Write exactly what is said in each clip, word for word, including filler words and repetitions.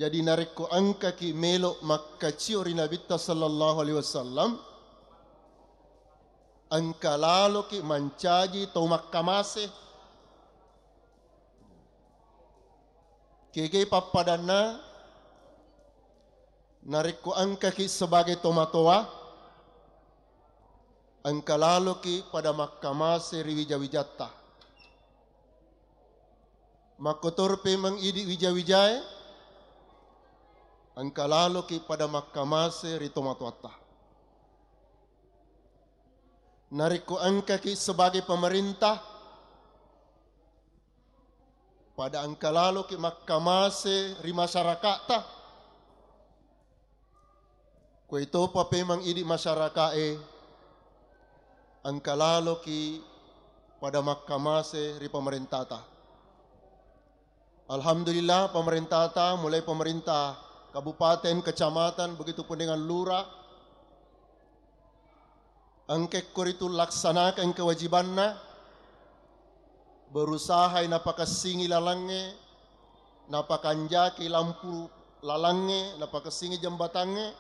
Jadi narekko engkaki melo makkacio ri Nabitta sallallahu alaihi wasallam, engka laloki mancaji tau makkamase. Kegai pappadanna, narekko engkaki sebagai tomatoa, engka laloki pada makkamase ri wija-wijatta. Makkotor pemeng idi wija-wijae, engka laloki pada makkamase ri tomatoatta. Narekko engkaki sebagai pemerintah, pada engka laloki makkamase ri masyaraka'ta. Kuetopa pemeng idi masyaraka'e, engka laloki pada makkamase ri pemerintata. Alhamdulillah, pemerintata, mulai pemerintah kabupaten, kecamatan, begitu pun dengan lurah, engka ko ritu laksanakan kewajibanna, berusahai napakessingi lalangnge, napakanjaki lampu lalangnge, napakessingi jembatangnge.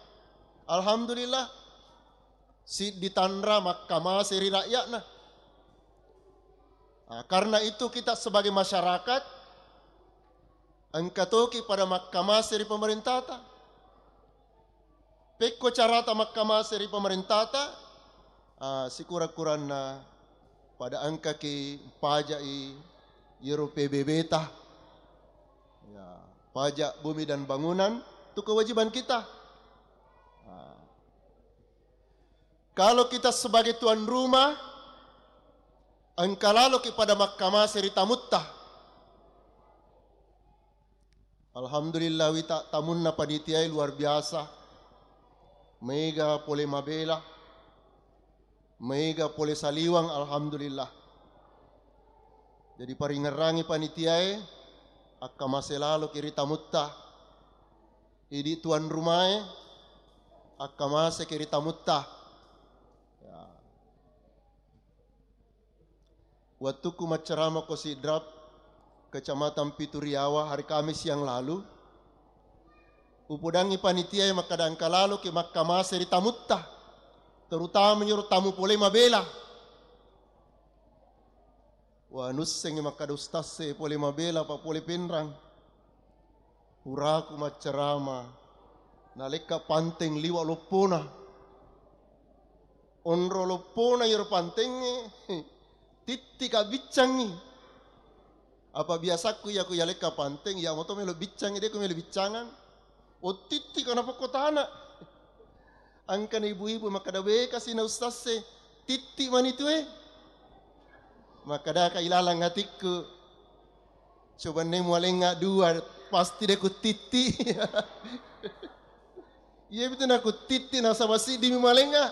Alhamdulillah, siddi tanra makkamase ri rakyatna. Nah, karena itu kita sebagai masyarakat engka toki pada makkamase ri pemerintata. Pekko carata makkamase ri pemerintata, ah, sikura-kuranna pada engkaki paja'i yero P B B-ta. Ya, pajak bumi dan bangunan, itu kewajiban kita. Ah. Kalau kita sebagai tuan rumah, engka laloki pada makkamase ri tamutta. Alhamdulillah, wita tamunna panitiae luar biasa. Mega pole mabela, mega pole saliweng, alhamdulillah. Jadi paringerrangi panitiae, akkamase laloki ri tamutta. Idi tuan rumae, akkamaseki ri tamutta. Ya. Wettukku maccarama ko Sidrap, Kecamatan Pitu Riawa, hari Kamis yang lalu, upodangngi panitiae makkada engka laloki makkamase ri tamutta, terutama nyoro tamu pole mabela. Wa, nussengngi makkada ustasse pole mabela pa pole penrang. Puraku maccarama, nalekka panteng liwa loppona. Onro loppona iyaro pantengnge, tittika biccangngi. Apa biasakku iya ku yalekka panteng, iya moto melo biccangngi, de ku melo biccangang. O, tittika napakkotana. Engkana ibu-ibu makkada, "Wekasi na ustasse, titti mani tue." Makkadaka ilalang atikku, "Coba ne mualengnga dua, pasti de ku titti." Iya betul, naku titti nasaba siddimi mualengnga.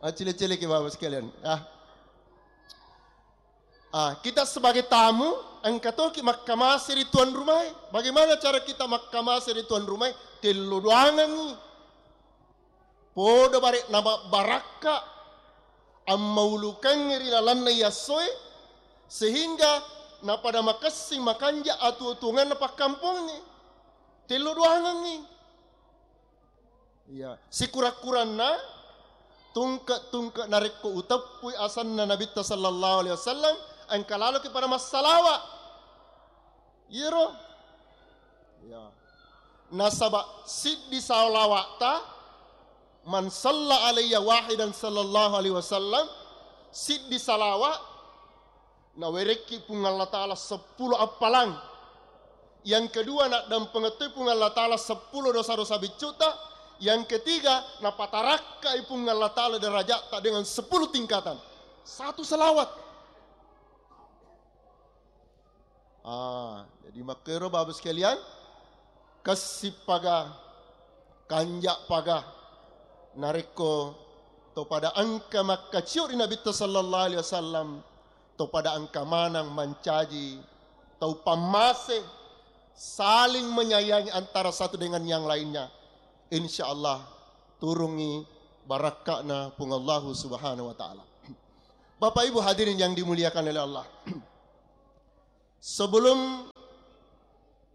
Acile-cile ke Bapak sekalian. Ah. Ah, kita sebagai tamu, engka toki makkamase ri tuan rumae. Bagaimana cara kita makkamase ri tuan rumae? Tello doangengngi. Podo bare' namabbarakka, ammaulukengngi ri lalenna iyassoe, sehingga napada makessing makanja atuo-tuongenna pakkampongnge. Tello doangengngi. Iya, sikura-kuranna tungke-tungke narekko uteppui asenna Nabitta sallallahu alaihi wasallam, engka laloki pada massalawa. Iyaro. Iya. Nasaba siddi salawa'ta, "Man salla alayya wahidan sallallahu alaihi wasallam," siddi salawa, nawerekki Puang Allah Ta'ala seppulo appalang. Yang kedua, naddampengettoi Puang Allah Ta'ala seppulo dosa-dosa biccuta. Yang ketiga, napatarakkai Puang Allah Ta'ala derajatna dengan sepuluh tingkatan. Satu salawat. Ah, jadi makkero Bapak sekalian, kessippaga, kanja'paga, narekko topada engka makkacio ri Nabitta sallallahu alaihi wasallam, topada engka manang mancaji tau pammase, saling menyayangi antara satu dengan yang lainnya. Insya Allah turungi barakka'na Puang Allahu Subhanahu wa Ta'ala. Bapak Ibu hadirin yang dimuliakan oleh Allah. Sebelum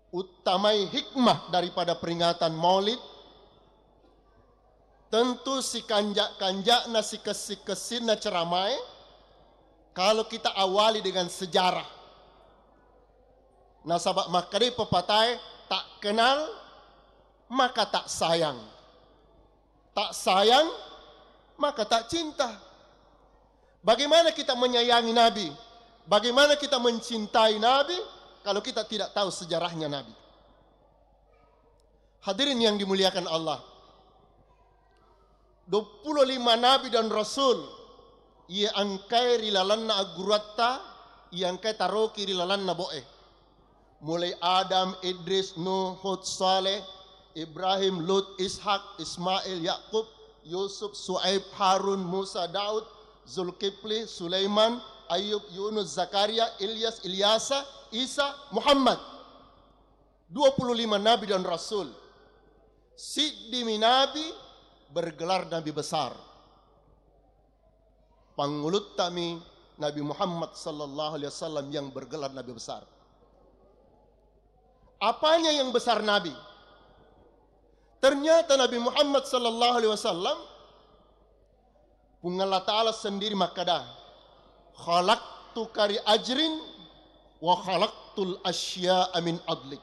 Uttamai hikmah daripada peringatan Maulid, tentu sikanja-kanja'na, sikessi-kessinna ceramae, kalau kita awali dengan sejarah. Nasaba makkedai pepatae, tak kenal maka tak sayang. Tak sayang maka tak cinta. Bagaimana kita menyayangi Nabi? Bagaimana kita mencintai Nabi kalau kita tidak tahu sejarahnya Nabi? Hadirin yang dimuliakan Allah, dua puluh lima nabi dan rasul iya engkae ri lalenna agguruatta, iya engkae taroki ri lalenna boe. Mulai Adam, Idris, Nuh, Hud, Saleh, Ibrahim, Lut, Ishak, Ismail, Yakub, Yusuf, Suaib, Harun, Musa, Daud, Zulkifli, Sulaiman, Ayub, Yunus, Zakaria, Ilyas, Ilyasa, Isa, Muhammad. Dua puluh lima nabi dan rasul. Siddimi nabi bergelar nabi besar. Panguluttami Nabi Muhammad sallallahu alaihi wasallam yang bergelar nabi besar. Apanya yang besar Nabi? Ternyata Nabi Muhammad sallallahu alaihi wasallam, Puang Allah Ta'ala sendiri makkada, "Khalaqtuka li ajrin wa khalaqtul asya'a min adlik."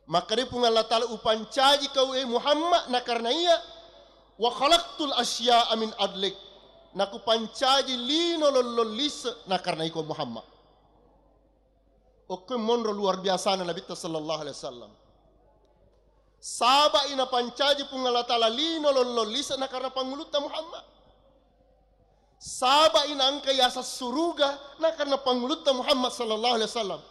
Makkadai Puang Allah Ta'ala, "Upancaji kau, e Muhammad, na karena iya, wa khalaqtul asya'a min adlik." Nakupancaji lino lollong lise na karena iko Muhammad. Okko monro luar biasana Nabitta sallallahu alaihi wasallam. Sabai napancaji Puang Allah Ta'ala lino lollong lise na karena pangulutta Muhammad. Sabai naengka yaseng suruga na karena pangulutta Muhammad sallallahu alaihi wasallam.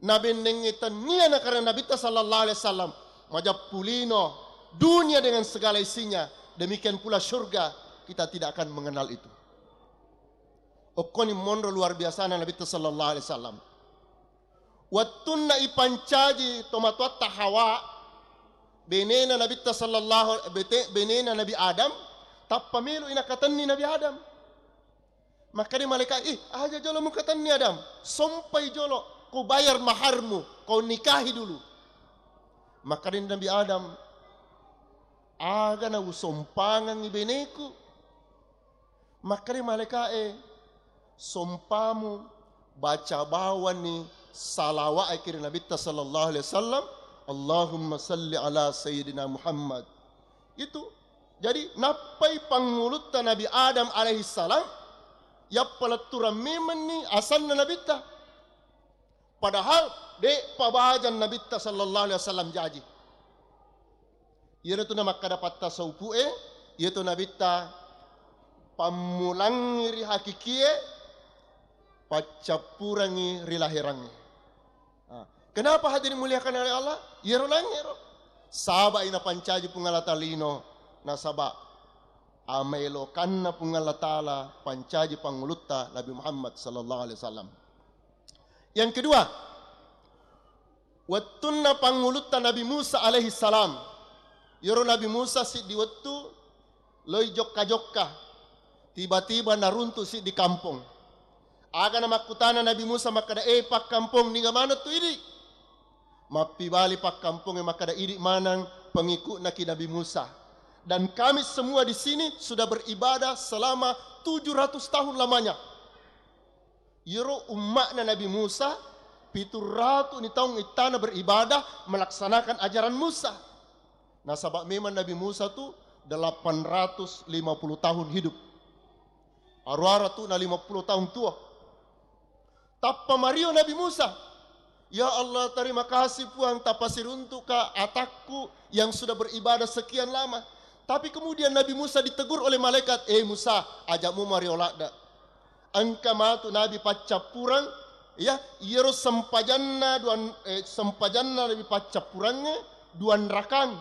Nabennengngi tennia na karena Nabitta sallallahu alaihi wasallam. Majappu lino dunia dengan segala isinya. Demikian pula surga, kita tidak akan mengenal itu. Okkoni monro luar biasana Nabitta sallallahu alaihi wasallam. Wettunna ipancaji tomatoatta Hawa, benena Nabitta sallallahu, bete-, benena Nabi Adam, tappa melo inakatenni Nabi Adam. Makkeda malaikat, "Ih, aja jolo mukatenni Adam, sompai jolo, ko bayar maharmu, kau nikahi dulu." Makkeda Nabi Adam, "Aga na usompangengngi beneku?" Makkeda malaikae, "Sompamu baca bawanni salawa'e ki ri Nabitta sallallahu alaihi wasallam, Allahumma salli ala Sayyidina Muhammad." Itu. Jadi, nappai pangulutta Nabi Adam alaihi salam, yappaletturang memenni asanna Nabitta. Padahal de'pa bajang Nabitta sallallahu alaihi wasallam jaji. Iyaro tu namakkada patta saupu'e, iyatu Nabitta pammulangngi ri hakikie, paccappurangngi ri lahirangnge. Ah, kenapa hadirin muliakan oleh Allah? Iyaro nangngero. Sabai napancaji Puang Allah Ta'ala lino, nasaba amaelokanna Puang Allah Ta'ala pancaji pangulutta Nabi Muhammad sallallahu alaihi wasallam. Yang kedua, wettunna pangulutta Nabi Musa alaihi salam. Iyaro Nabi Musa siddi wettu loi jokka-jokka, tiba-tiba naruntu siddi kampong. Aga namakkutana Nabi Musa makkada, "Eh, pakkampong, niga maneng tu idi?" Mappibali pakkampongnge makkada, "Idi maneng pengikutnaki Nabi Musa. Dan kami semua di sini sudah beribadah selama tujuh ratus tahun lamanya." Iyaro umma'na Nabi Musa, pitu ratu ni taung ittana beribadah melaksanakan ajaran Musa. Nasaba memang Nabi Musa tu delapan ratus lima puluh tahun hidup. Aruara tu na lima puluh tahun tua. Tappa mario Nabi Musa, "Ya Allah, terima kasih Puang, tapasiruntuka atakku yang sudah beribadah sekian lama." Tapi kemudian Nabi Musa ditegur oleh malaikat, "Eh Musa, aja mu mario ladde." Engka matu Nabi paccappureng, ya, iyaro sempajanna duan, eh, sempajanna Nabi paccappurengnge duan rakang.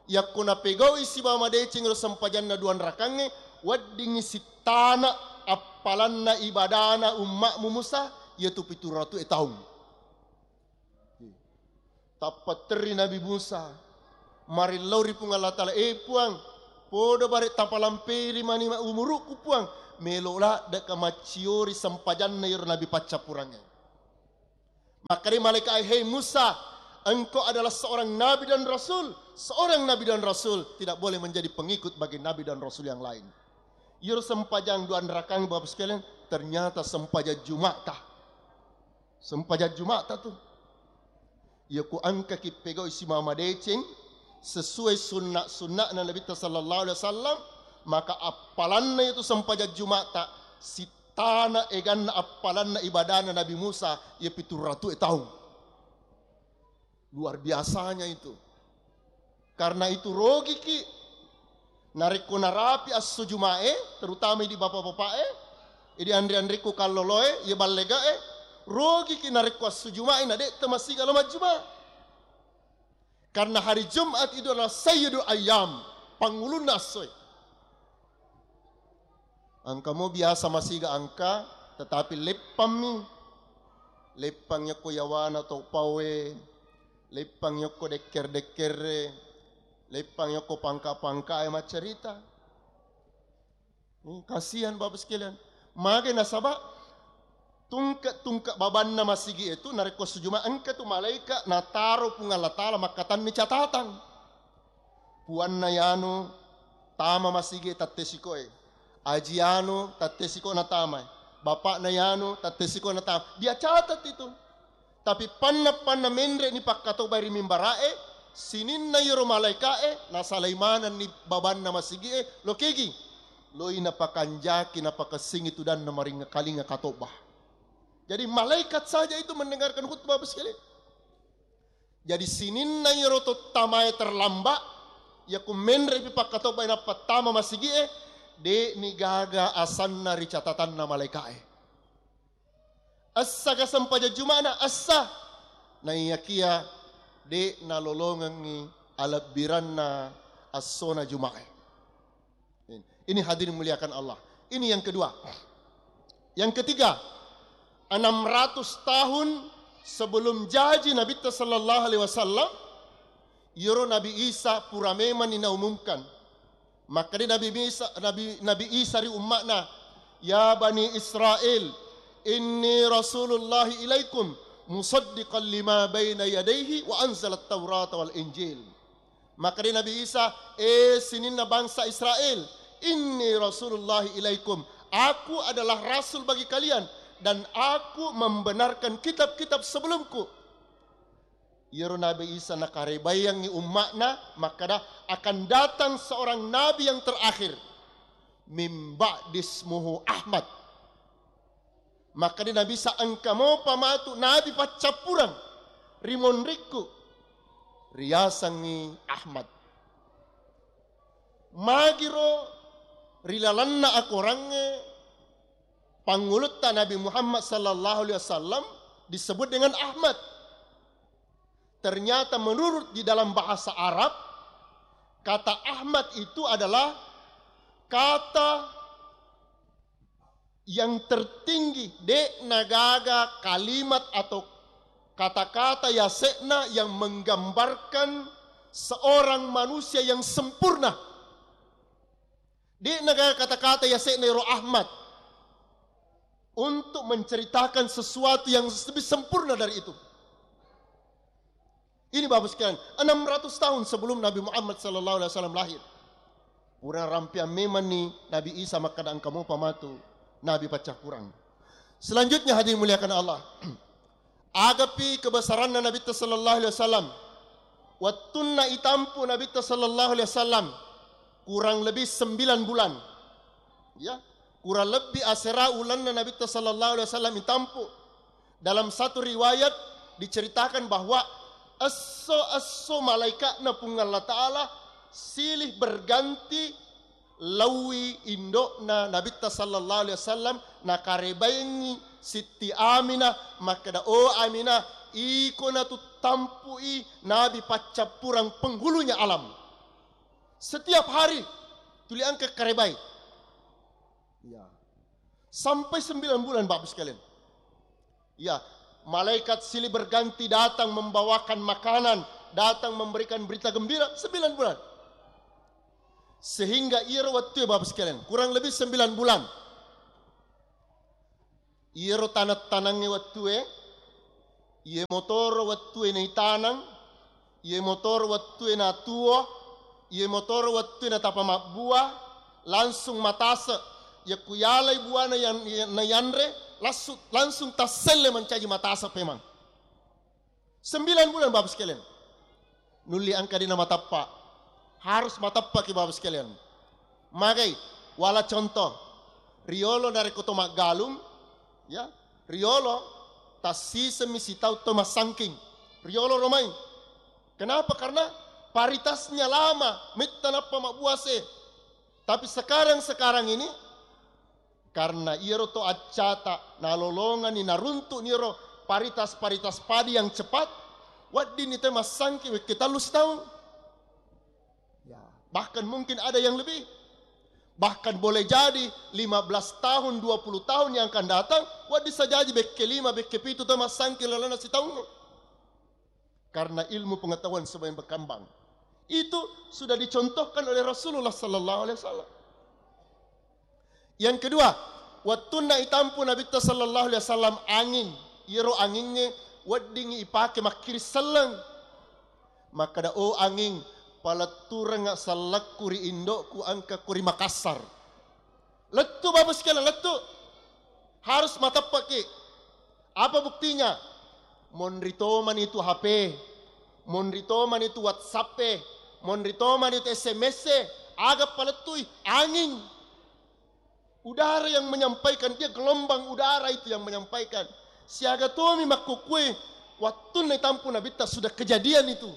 Yakko napegau'i sibawa madeceng ro sempajanna duan rakangnge, weddingngi sittana appalanna ibadana umma'mu Musa, iyatu pitu ratu e taung. Tappa terri Nabi Musa, marillau ri Puang Allah Ta'ala, "Eh Puang, podo bare tapalamperi mani ma-, umuru'ku Puang, melo laddeka macciori sempajanna iyaro Nabi paccappurangnge." Makkedai malaikat, "Hei Musa, engkau adalah seorang nabi dan rasul. Seorang nabi dan rasul tidak boleh menjadi pengikut bagi nabi dan rasul yang lain." Iyaro sempajang dua rakang, Bapak sekalian, ternyata sempajang Juma'ta. Sempajang Juma'ta tu. Iya ku engkaki pegau simama deceng sesuai sunna-sunna'na Nabitta sallallahu alaihi wasallam, maka appalanna itu sempajang Juma'ta, sittana eganna appalanna ibadana Nabi Musa, iya pitu ratu taung. Luar biasanya itu. Karena itu rogiki narekko narapi esso Juma'e, terutama di bapak-bapak'e, di anre-anrekku kalloloe, iya ballegae, rogiki narekko esso Juma'e na de'ta masiga lo majjuma. Karena hari Jumat itu adalah sayyidul ayyam, pangulunna essoe. Engka mo biasa masiga engka, tetapi leppammi. Leppang yokko yawana to pawe, leppang yokko dekker-dekkerre, leppang yokko pangka-pangkae maccarita. Hmm, kasihan Bapak sekalian. Mage nasaba tungke-tungke babanna masigi itu narekko sujuma engka tu malaika nataro Puang Allah Taala makkatanni catatang. Puanna yanu tama masigi tattesikoe. Aji yanu tattesiko natama. Bapakna yanu tattesiko natama. Dia catat itu. Tapi panna-panna menre ni pakkatobai ri mimbarae, sininna yero malaikae nasalai manenni babanna masigie, lokegi. Loi napakanjaki napakessingi tudanna maringa kalinga katoba. Jadi malaikat saja itu mendengarkan khutbah Bapak sekalian. Jadi sininna iyaro to tamae terlambat, yaku menre'pi pakkatobbai nappa tama masigi'e, de'ni gaga asanna ri catatanna malaika'e. Essa ga sempajang Juma'na? Essa. Naiyakiya de' nalolongengngi alebbiranna essona Juma'e. Ini hadirin muliakan Allah. Ini yang kedua. Yang ketiga, enam ratus tahun sebelum jaji Nabitta sallallahu alaihi wasallam, iyaro Nabi Isa pura memang ni naumumkan. Makkeda Nabi Isa, Nabi, Nabi Isa ri umma'na, "Ya Bani Israel, inni Rasulullahi ilaikum, musaddiqan lima baina yadaihi wa anzalat Taurata wal Injil." Makkeda Nabi Isa, "Eh sininna bangsa Israel, inni Rasulullahi ilaikum, aku adalah rasul bagi kalian, dan aku membenarkan kitab-kitab sebelumku." Iyaro Nabi Isa nakarebaiangngi umma'na, makkeda, "Akan datang seorang nabi yang terakhir, min ba'di ismuhu Ahmad." Makkeda Nabi Isa, "Engka mopa matu nabi paccappureng ri monrikku, riasengngi Ahmad." Magiro ri lalenna akorangnge pangulutta Nabi Muhammad sallallahu alaihi wasallam disebut dengan Ahmad. Ternyata menurut di dalam bahasa Arab, kata Ahmad itu adalah kata yang tertinggi, de' nagaga kalimat atau kata-kata yase'na yang menggambarkan seorang manusia yang sempurna. De' nagaga kata-kata yase'na ero Ahmad untuk menceritakan sesuatu yang lebih sempurna dari itu. Ini Bapak sekalian, enam ratus tahun sebelum Nabi Muhammad sallallahu alaihi wasallam lahir. Pura rampiang memang ni Nabi Isa makkeda engka mopa matu Nabi paccappureng. Selanjutnya hadirin muliakan Allah. Agapi kebesaranna Nabitta sallallahu alaihi wasallam. Wettunna itampu Nabitta sallallahu alaihi wasallam kurang lebih sembilan bulan. Ya, kurang lebih asera ulanna Nabitta sallallahu alaihi wasallam itampu. Dalam satu riwayat diceritakan bahwa esso-esso malaika'na Puang Allah Ta'ala silih berganti laui indo'na Nabitta sallallahu alaihi wasallam, nakarebaingi Sitti Aminah, makkeda, "O Aminah, iko natu tampui Nabi paccappureng penghulunya alam." Setiap hari tuli engka karebai. Ya. Sampai sembilan bulan, Bapak sekalian. Ya, malaikat silih berganti datang membawakan makanan, datang memberikan berita gembira, sembilan bulan. Sehingga iyaro wettue, Bapak sekalian, kurang lebih sembilan bulan. Iyaro taneng-tanengnge wettue, Iye motoro wettue naitanang, iye motoro wettue natuo, iye motoro wettue natapa mabbua, langsung matase. Yakku yalai buana yang, yang naiyanre, lassu-, langsung tasselle mancaji matase pemang. Sembilan bulan, Bapak sekalian. Nulli engka dena matappa. Harus matappa ki, Bapak sekalian. Magai, wala contoh. Riolo narekko to maggalung, ya, riolo tassisemi sitau to massangking. Riolo romai. Kenapa? Karena paritasnya lama, metta nappa mabbuase. Tapi sekarang-sekarang ini, karena iyaro to accata nalolongani naruntuk niro paritas-paritas padi yang cepat, weddinni te massangking wekke tallu sitaung. Ya, bahkan mungkin ada yang lebih. Bahkan boleh jadi lima belas tahun, dua puluh tahun yang akan datang, wedding sajaji bekke lima, bekke pitu te massangking lalenna sitaung. Karena ilmu pengetahuan semakin berkembang. Itu sudah dicontohkan oleh Rasulullah sallallahu alaihi wasallam. Yang kedua, wettunna itampu Nabitta sallallahu alaihi wasallam anging, iyaro angingnge weddingngi ipake makkiri selleng. Makkeda, "Oh anging, paletturengnga sellekku ri indokku, engka ku ri Makassar." Lettu, Bapak sekalian, lettu. Harus mateppeki. Apa buktinya? Monri tomani tu H P, monri tomani tu WhatsApp e, monri tomani tu S M S e, aga palettui? Anging. Udara yang menyampaikan, dia gelombang udara itu yang menyampaikan. Siaga tomi makkukue, wattunna itampu Nabitta sudah kejadian itu.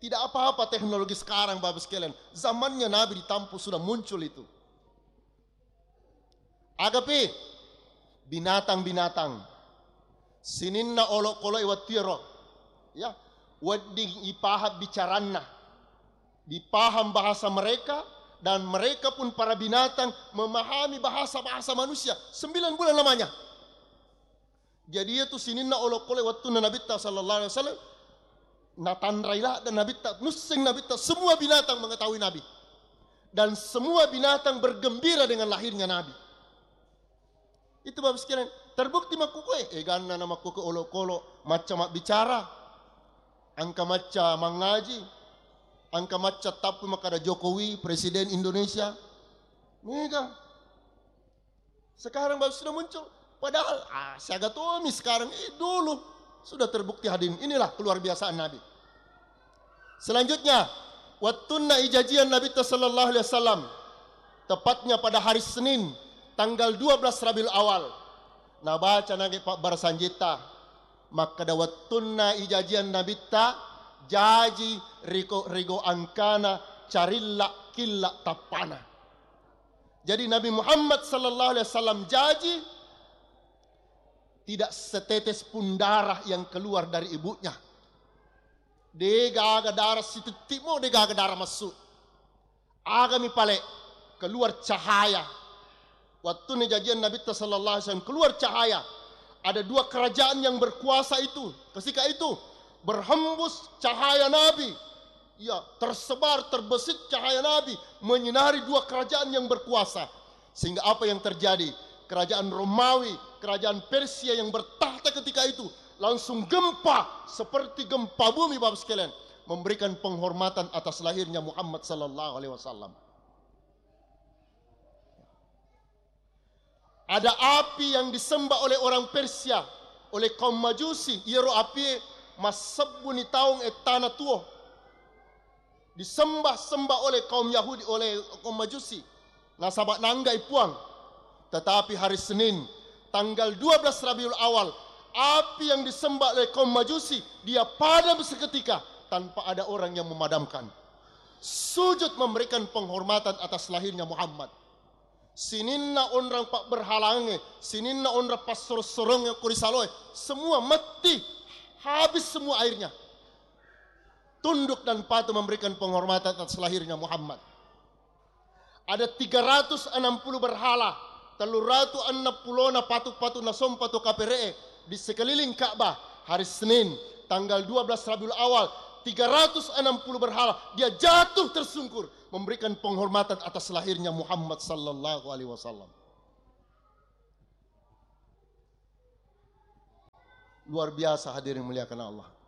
Tidak apa-apa teknologi sekarang, Bapak sekalian. Zamannya Nabi ditampu sudah muncul itu. Agapi, binatang-binatang. Sininna olokkoloi wettuero. Ya, wedding ipaham bicaranna. Dipaham bahasa mereka, dan mereka pun para binatang memahami bahasa-bahasa manusia. Sembilan bulan lamanya. Jadi, iya tu sininna olokkoloi wettunna Nabitta sallallahu alaihi wasallam, natanrai ladde Nabitta, nusseng Nabitta, semua binatang mengetahui Nabi. Dan semua binatang bergembira dengan lahirnya Nabi. Itu, Bapak sekalian, terbukti makkukue, eganna na makkukue olokolo, macca mabbicara, engka macca mangaji, engka macca tappu makkada Jokowi, Presiden Indonesia. Mega. Sekarang baru sudah muncul. Padahal, ah, siaga tomi sekarang. Eh, dulu sudah terbukti, hadirin. Inilah keluar biasaan Nabi. Selanjutnya, wettunna ijajian Nabitta sallallahu alaihi wasallam, tepatnya pada hari Senin, tanggal dua belas Rabiul Awal, nabaca nage pabbarasanjitta, makkeda wettunna ijajian Nabitta, jaji riko-, rigo angkana carilla killa tappana. Jadi, Nabi Muhammad sallallahu alaihi wasallam jaji, tidak setetes pun darah yang keluar dari ibunya. Degaga darah sititik mo, degaga darah masuk. Agami pale, keluar cahaya. Waktu ni jajian Nabitta sallallahu alaihi wasallam, keluar cahaya. Ada dua kerajaan yang berkuasa itu, ketika itu, berhembus cahaya Nabi. Ya, tersebar, terbesit cahaya Nabi, menyinari dua kerajaan yang berkuasa. Sehingga apa yang terjadi? Kerajaan Romawi, kerajaan Persia yang bertakhta ketika itu, langsung gempa, seperti gempa bumi, Bapak sekalian, memberikan penghormatan atas lahirnya Muhammad sallallahu alaihi wasallam. Ada api yang disembah oleh orang Persia, oleh kaum Majusi. Iyaro api massebbuni taung ettana tuo. Disembah-sembah oleh kaum Yahudi, oleh kaum Majusi. Nasaba nanggai Puang. Tetapi hari Senin, tanggal dua belas Rabiul Awal, api yang disembah oleh kaum Majusi, dia padam seketika tanpa ada orang yang memadamkan. Sujud memberikan penghormatan atas lahirnya Muhammad. Sininna onrang pabberhalangnge, sininna onrang passorong-sorongnge ko ri saloe, semua mati, habis semua airnya. Tunduk dan patuh memberikan penghormatan atas lahirnya Muhammad. Ada tiga ratus enam puluh berhala, telluratu enneng pulona patu-patu nasompa to kapere'e di sekeliling Ka'bah. Hari Senin, tanggal dua belas Rabiul Awal, tiga ratus enam puluh berhala, dia jatuh tersungkur memberikan penghormatan atas lahirnya Muhammad sallallahu alaihi wasallam. Luar biasa, hadirin muliakan Allah.